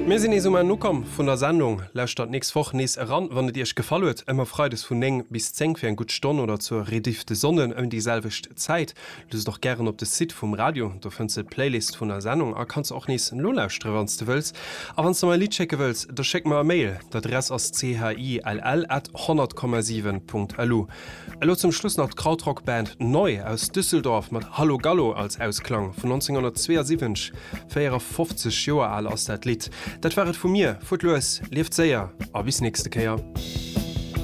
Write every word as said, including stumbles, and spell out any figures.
Mir sinn nees um Enn ukomm vun der Sendung. Lauschtert nächst Woch nees eran, wann et iech gefall huet. Ëmmer freides vun néng bis zéng fir eng gutt Stonn oder zur Rediff de Sonnden ëm déi selwecht Zäit. Luusst och gären op de Site vum Radio, do fënns de d'Playlist vun der Sendung a kanns och nees nolauschtere wann s de wëlls. A wann s de mer e Lidd schécke wëlls, da schéck mer e Mail, d'Adress ass chill at honnert Komma siwen Punkt lu. Elo zum Schluss nach d'Krautrock-Band Neu aus Düsseldorf mat Hallo Gallo als Ausklang vun nonzénghonnertzweeasiwwenzeg, véierafofzeg Joer al ass dat Lidd. Dat war et vu mir, fuert lues, lieft séier a bis nächste Kéier.